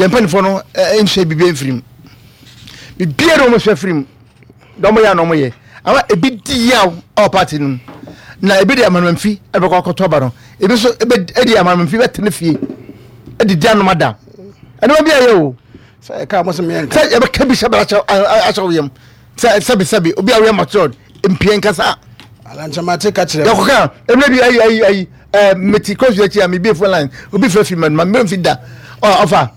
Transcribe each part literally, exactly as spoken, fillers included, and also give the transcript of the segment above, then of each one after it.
Yɛn mpanimfoɔ no nsua biribi mfiri mu. Biribiara na wɔn sua firi mu. Na wɔn yɛ na wɔn yɛ. Ama ebi di yaw ɛwɔ party no mu. Na ebi de amanamfi ɛbɛkɔ akɔtɔ aba no. Ebi nso ebe ɛde amanamfi bɛtena fie. Ɛde di anoma da. Ɛnoma bi ayɛ o. Sɛ ɛka mo sɛ meyɛ nka. Sɛ yɛbɛka bi hyɛ bɛrɛ ahyɛ wo yam. Sɛ sɛbi sɛbi obi a woyɛ matured mpie nkasa. Alankyɛmate ka kyerɛ. Yɛkɔka ɛmɛ bi ayi ayi ayi ɛɛ meti kɔsu akyi a mebie phone line obi fɛ fi mɛnuma mɛ nfi da ɔ ɔfa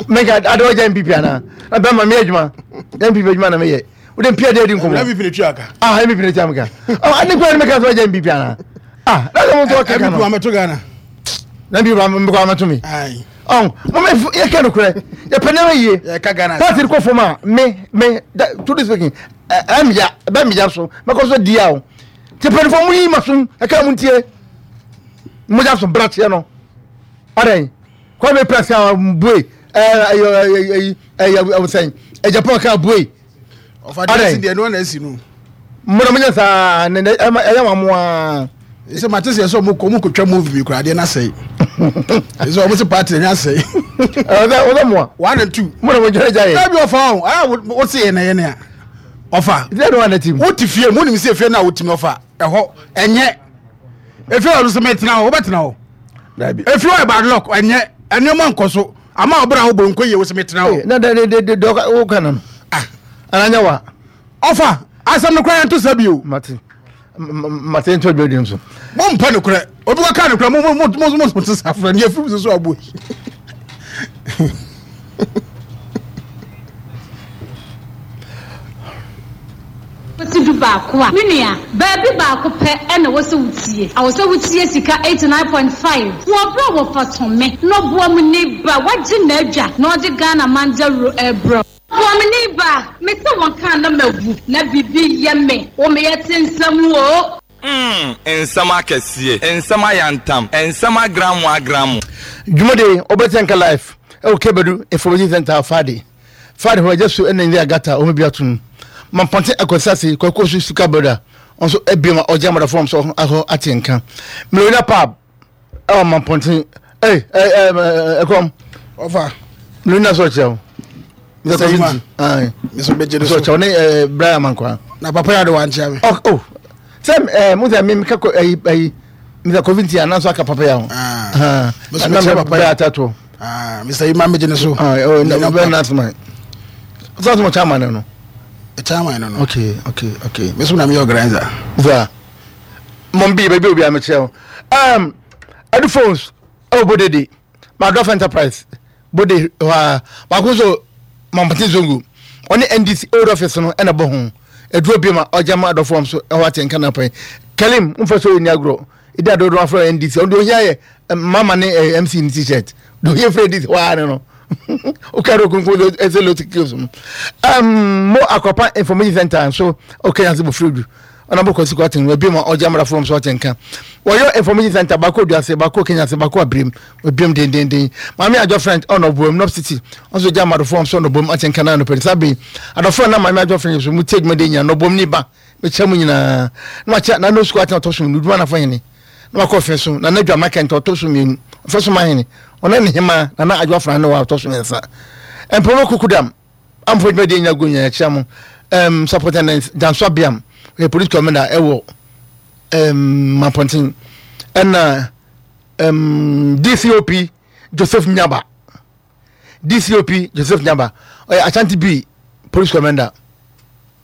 mɛnka ade ɔgya N P P ana na bɛrima meyɛ adwuma N P P adwuma na meyɛ wode mpia de adi nkɔmmɔ. N P P ne tua ka. Ah, N P P ne tua ka. Ɔ ade kwan ne mɛka sɛ ɔgya N P P ana? Ah, na sɛ mo nso ɔkeka no. N P P amɛto Ghana. Na N P P mekɔ amɛto mi. Ɔn mo mɛ yɛka no korɛ, yɛpɛ nneɛma yie. Yɛka Ghana. Party kɔ fam a, me me truly speaking, ɛmya ɛbɛ meya so mɛkɔ so di a o te mpanyinfoɔ mo yi ma so ɛka mo ntie mogya so brakyeɛ no ɔdɛn Kwame Press a bue ɛɛ ɛyɛ ɛyɛ ɛyɛ sɛn Japan ka bue. Ɔfa deɛ ɛsi deɛ no na ɛsi no. Mo na mo nyɛ saa ne ne ɛyɛ wɔn mo aa. Sɛ mate sɛ sɛ ɔmo kɔ ɔmo kɔtwa movie bi koraa, adeɛ no asɛe sɛ ɔmo sɛ party no asɛe. Ɔsɛ ɔsɛ mo a. One and two. Mo na mo gyina gya yɛ. Ɛbi ɔfa o, ɛyà wo se yɛ na yɛ nea ɔfa. Ìdílé ni wọn ti mu. Wote fie mu, wonim sɛ efie no a wotumi ɔfa ɛhɔ ɛnyɛ efie hɔ no sɛ mɛtena hɔ, wobɛtena hɔ. Dabi. Efie hɔ yɛ bad luck, ɛnyɛ ɛnneɛma nkɔ so ama ɔbɛrɛ a wobɔ nkɔ yie, wo sɛ mɛtena hɔ. Na de de de de ɔka wo no. Ah. Ananya wa. Ɔfa asɛm no koraa yɛnto sa bio. Mate mate nto adwa di nso. Mo mpɛ no korɛ, obi kɔ ka no korɛ, mo mo mo mo mo te sa frɛ ne efiri so so abo yi. Wosi du baako a, me nua, baabi baako pɛ ɛna wɔsɛ wotie awɔ sɛ wotie Sika eighty-nine point five wɔ berɛ a wɔfa tɔme na ɔboa mu ne ba wagye n'adwa na ɔde Ghana mandawuro ɛbrɛ boa me ne ba mete wɔn kaa na mawu na biribi yɛ me wo meyɛ te nsɛm o. Mm, nsɛm akɛseɛ, nsɛm ayantam, nsɛm agramo agramo. Dwumadi ɔbɛtɛ nka live ɛwɔ Kɛbɛdu Information Center Fadi Fadi hɔ ɛgya so ɛna nyɛ agata ɔmo bi atum Mampɔnten akɔsase Kwakuo so Sika Broda ɔnso ebiem a ɔgye amada fɔm so ahɔ ate nka Melorina Pub ɛwɔ Mampɔnten ɛy ɛy ɛɛ ɛkɔm. Ɔfa. Melorina so ɔkyerɛ o. Mister Iman. Mister Bɛgye so ɔkyerɛ ɔne ɛɛ Brian Mankwa. Na papa yɛ ade wankyea me. Ɔ o sɛ ɛɛ mo sɛ mi mi ka kɔ ɛyi ɛyi Mister Covid ti ananso aka papa yɛ ho. Mister Bɛkyerɛ papa yɛ atato. Mister Iman bɛgye ne so. Ɔ na bɛ na asoma sɛ ɔsoma chairman no no. Chairman no no. okay okay okay Mi so na mi yɛ organizer. Za mɔm bi baabi obi a mekyerɛ wo um, Edu Phones ɛwɔ Bodede Madɔf Enterprise Bode hɔ a baako nso Mampɔnten Zongo ɔne N D C old office no ɛna bɔ ho aduro bi ma ɔgya ma adɔfoɔ nso ɛhɔ ate nka na pɛn Kalim mfa so ɛni agorɔ ɛdi adodo afrɛ N D C ɔde ohia yɛ mama ne eh, M C ne T-shirt de ohia frɛ N D C hɔ ara ne no wokare okunkum ɛsɛ lote kios mu um, mo Akɔpa Information Center nso ɔkɛ yanse bɔfiri du ɔnabɔ Kwasi Kwaten wabi ma ɔgya mmara fam so ɔte nka wɔyɛ information center baako Oduase, baako Kenyase, baako Abirem obiam dendenden. Maame Adwo French ɔna ɔboam North City ɔnso gya amadofo nso ɔna ɔboam ate nka na anɔpɛ saa bere adɔfo na maame Adwo French so mu tie dwuma de nyina na ɔboam ne ba mekyɛ mu nyinaa na wakyɛ na no sukuu atena ɔtɔ so mmienu dwuma nafo hene na wakɔ fɛ so na n'adwa makɛntɛ ɔtɔ so mmienu ɔfɛ so ma hene ɔna ne hema na na Adwo Afra ne wa ɔtɔ so mmiɛnsa mpɔmɔ kukudam amfo dwuma de nya go nyina kyerɛ mo um, Superintendent Danso Abiam ɔyɛ police commander ɛwɔ um, Mampɔnten ɛna um, D C O P Joseph Nyaba, D C O P Joseph Nyaba ɔyɛ Ashanti B police commander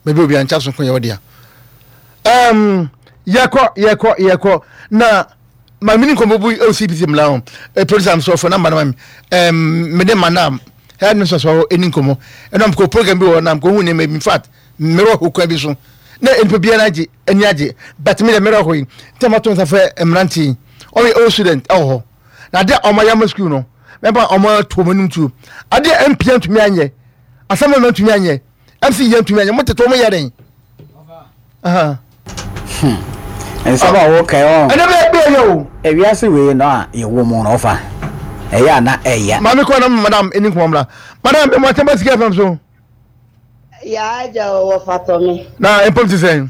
baabi obi ankyɛ so ko yɛ ɔdea um, yɛkɔ yɛkɔ yɛkɔ na maame ni nkɔmɔ bu ɛwɔ C P C mmla ho ɛ producer mi sɔ fɔ namba na ma mi ɛm mede madam head mistress wɔ ɛni nkɔmɔ ɛnna mkɔ program bi wɔ na mkɔ hu nneɛma bi. In fact, mmerɛ hɔ kwan bi so na nipa biara agye ani agye, but mi de mmerɛ hɔ yi ntɛ ma to nsa fɛ mmeranteɛ yi ɔyɛ old student ɛwɔ hɔ na adeɛ a ɔmo ayɛ ama school no mɛba ɔmo ato ɔmo anim tuo adeɛ a M P ntumi anyɛ, asɛm a ntumi anyɛ, M C yɛ ntumi anyɛ, mo tete ɔmo yɛ den. Nsɛm a wɔka ɔ Ɛnɛ bɛ bɛ yɛ o. Ewiase wei no a yɛwɔ mu no, ɔfa ɛyɛ a na ɛya. Maame kɔ na madam ɛni nkɔmɔ mra. Madam, mo atɛn ba Sika F M so. Yaa agya, wɔ fatɔ me. Na mpom ti sɛn?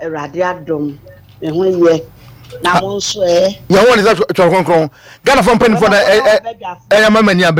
Awurade adom, me ho yɛ, na mo nso ɛ? Yɛn ho ne sɛ twɛrɛ kronkron Ghana fɔ mpanimfoɔ na ɛyɛ ama mani abere.